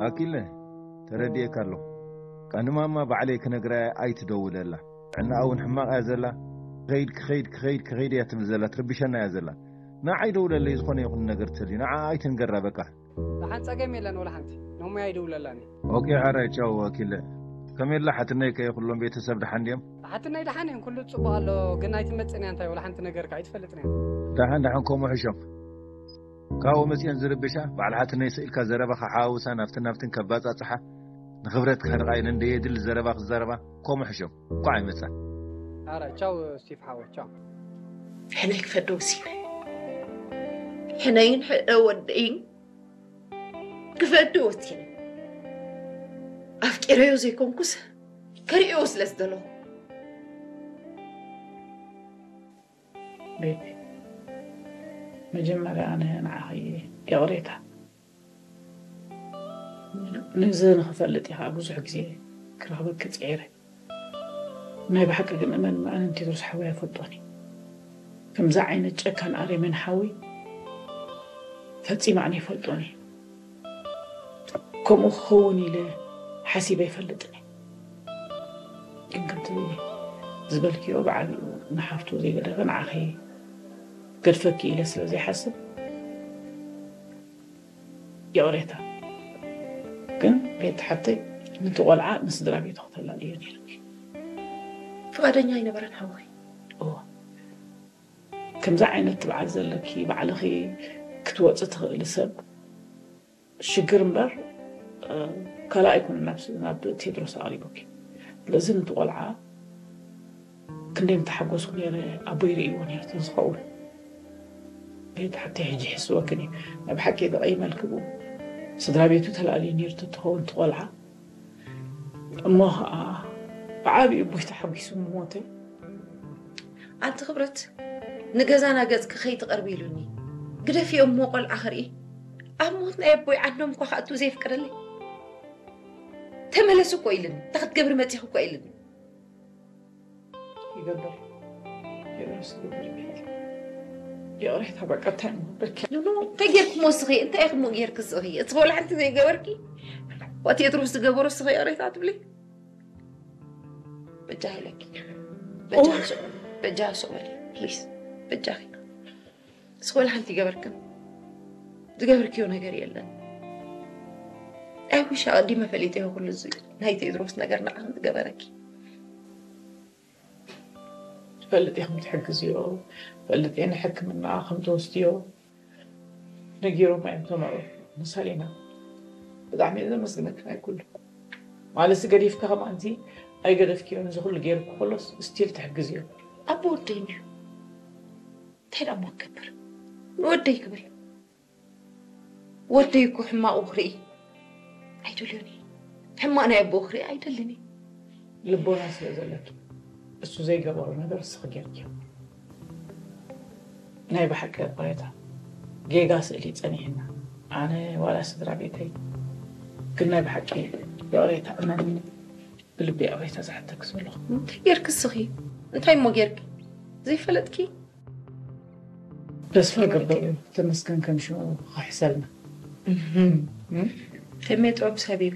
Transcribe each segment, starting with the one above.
ኣኪለ፣ ተረዲኤካ ኣለኹ። ቃንማማ ባዕለይ ክነግራ እየ ኣይትደውለላ። ጥዕናኣ እውን ሕማቕ እያ ዘላ። ክኸይድ፣ ክኸይድ፣ ክኸይድ፣ ክኸይድ እያ ትብል ዘላ፣ ትርብሸና እያ ዘላ። ንዓይ ደውለለይ፣ ዝኾነ ይኹን ነገር ትሰልዩ። ንዓ ኣይትንገራ በቃ። ደሓን ጸገም የለን ወላ ሓንቲ። ኖሞያ ይደውለላኒ። ኦኬ፣ ሓራይ ቻው ኣኪለ። ከመይ ኣላ ሓትነይ ከ ኩሎም ቤተሰብ ደሓን ድዮም? ሓትነይ ደሓን እየን፣ ኩሉ ጽቡቕ ኣሎ። ግን ኣይትመጽእን እያ እንታይ ወላ ሓንቲ ነገር ከ ኣይትፈልጥን እያ። ደሓን ደሓን ከምኡ ሕሾም። ካብኡ መጽየን ዝርብሻ፣ በዓል ሓትነይ ስኢልካ ዘረባኻ ሓዋውሳ ናብትን ናብትን ከባጻጽሓ፣ ንኽብረትካ ድቓ ኢለን ደየድሊ ዘረባ ክዛረባ፣ ከምኡ ሕሾም። እንኳዕ ኣይመጻ። ኣረ ቻው ስቲፍ ሓወ፣ ቻው። ሕነይ ክፈዶ ወሲነ። ሕነይን ሕነ ወደይን ክፈዶ ወሲነ። ኣፍቂረዮ ዘይኮንኩስ፣ ከርእዮ ስለ ዝደለኹ። ቤቲ፣ መጀመርያ ኣነ ንዓኺ ይቕሬታ። ነዚ ንኽፈልጥ ኢኻ ብዙሕ ግዜ ክረኽበኪ ጽዒረ። ናይ ብሓቂ ግን እመን፣ ኣነን ቴድሮስ ሓወይ ኣይፈልጦን እዩ። ከምዚ ዓይነት ጨካን ኣሬሜን ሓወይ ፈጺመ ኣነ ኣይፈልጦን እዩ። ከምኡ ክኸውን ኢለ ሓሲበ ኣይፈልጥን እየ። ግን ከምቲ ዝበልክዮ ብዓቢኡ ንሓፍቱ ዘይገደፈ ንዓኺ ገድፈኪ ኢለ ስለ ዘይሓስብ ይቕሬታ። ግን ቤት ሓብተይ ነቲ ቆልዓ ንስድራ ቤቱ ክተላልዮ ነይርኪ። ፍቓደኛ ኣይነበረን ሓወይ። እወ። ከምዚ ዓይነት ትብዓት ዘለኪ ባዕልኺ ክትወፂ ትኽእሊ ሰብ ሽግር እምበር፣ እ፣ ካልእ ኣይኮነን ናብ ስ-፣ ናብ ቴድሮስ ኣቕሪቡኪ። ስለዚ ነቲ ቆልዓ ክንደይ ምተሓጎስኩ ነይረ፣ ኣቦይ ርእይዎ ነይሩ ተዝኸውን። ቤት ሓብተይ ሕጂ ይሕስወክን እዩ። ናይ ብሓቂ ተቐይመልኪ ብኡ። ስድራ ቤቱ ተላልዩ ነይሩ ተትኸውን እቲ ቆልዓ። እሞ ኸዓ ብዓቢኡ ኣቦይ ተሓጒሱ ምሞተ። ኣንቲ ክብረት፣ ንገዛና ገጽኪ ከይትቐርቢ ኢሉኒ። ግደፍዮ እሞ ቆልዓ ክርኢ። ኣብ ሞት ናይ ኣቦይ ዓንዶም እኳ ክኣቱ ዘይፍቀደለይ። ተመለሱ እኮ ኢሉኒ። እንታይ ክትገብሪ መጺኺ እኮ ኢሉኒ። ይገብር። ይገብር፣ ይገብር። ይቕሬታ፣ በቃ፣ እንታይ እሞ በቃ። ኖ፣ ኖ፣ እንታይ ጌርክሞ እስኺ? እንታይ ኢኽሞ ጌርኪ እስኺ? እቲ ቆልዓ ሓንቲ ዘይገበርኪ? ዋት ቴድሮስ ዝገበሮ እስኺ ይቕሬታ ትብሊ? በጃ ኢለኪ። በጃ ኦ። ስቕ-፣ በጃ ስቕ በሊ፣ ፕሊዝ። በጃኺ። እስኺ ወላ ሓንቲ ይገበርክን? ዝገበርክዮ ነገር የለን። ኣይ ዊሽ ኣቐዲመ ፈሊጠዮ ኩሉ እዚ ናይ ቴድሮስ ነገር ንዓኺ ዝገበረኪ። ትፈልጥ ኢኹም ትሕግዝዮ፣ ትፈልጥ እየ ንሕክምና ከም ትወስድዮ ነጊሮም እዮም ተመሩ። ንሳሊና ብጣዕሚ እየ ዘመስግነኪ ናይ ኩሉ። ማለት ገዲፍካ ከማንቲ ኣይገደፍክዮን፣ እዚ ኩሉ ገይርኩ ከሎስ ስቲል ትሕግዝዮ። ኣቦ ወደይ እንድዩ። እንታይ ደኣ እሞ ክገብር? ንወደይ ክብል። ወደይ እኮ ሕማቑ ክርኢ ኣይደልዮን እየ። ሕማቕ ናይ ኣቦኡ ክርኢ ኣይደልን እየ። ልቦና ስለ ዘለኪ፣ እሱ ዘይገበሮ ነገር እስኺ ጌርክዮ። ናይ ብሓቂ ይቕሬታ፣ ጌጋ ስእሊ ጸኒሕና። ኣነ ዋላ ስድራ ቤተይ፣ ግን ናይ ብሓቂ ይቕሬታ፣ እመንኒ፣ ብልቢ ይቕሬታ ዝሓተኪ ዘለኹ። እንታይ ጌርኪ እስኺ? እንታይ እሞ ጌርኪ? ዘይፈለጥኪ? ተስፋ ገብር እዩ። ተመስገን ከም ሽሙ ክሕሰልና። እህም። ከመይ ጥዑም ሰብ እዩ።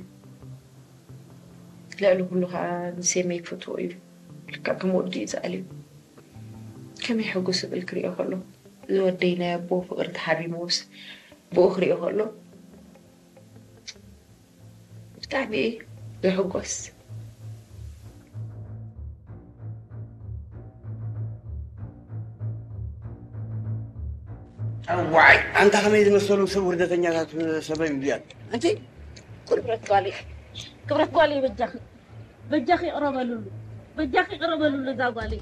ልዕሊ ኩሉ ከዓ ንሴመይ ክፈትዎ እዩ። ልክዕ ከም ወዱ እዩ ዝኣልዩ። ከመይ ሕጉስ እብል ክሪኦ ከሎ። እዚ ወደይ ናይ ኣቦ ፍቕሪ ተሓሪምዎስ ብኡ ክሪኦ ከሎ። ብጣዕሚ እየ ዝሕጎስ። ዋይ፣ ኣንታ ከመይ ዝመሰሉ ሰብ ውርደተኛታት ሰበይ እዚኣት። ኣንቲ ክብረት ጓለይ፣ ክብረት ጓለይ በጃኺ፣ በጃኺ ይቕረበልሉ፣ በጃኺ ይቕረበልሉ እዛ ጓለይ።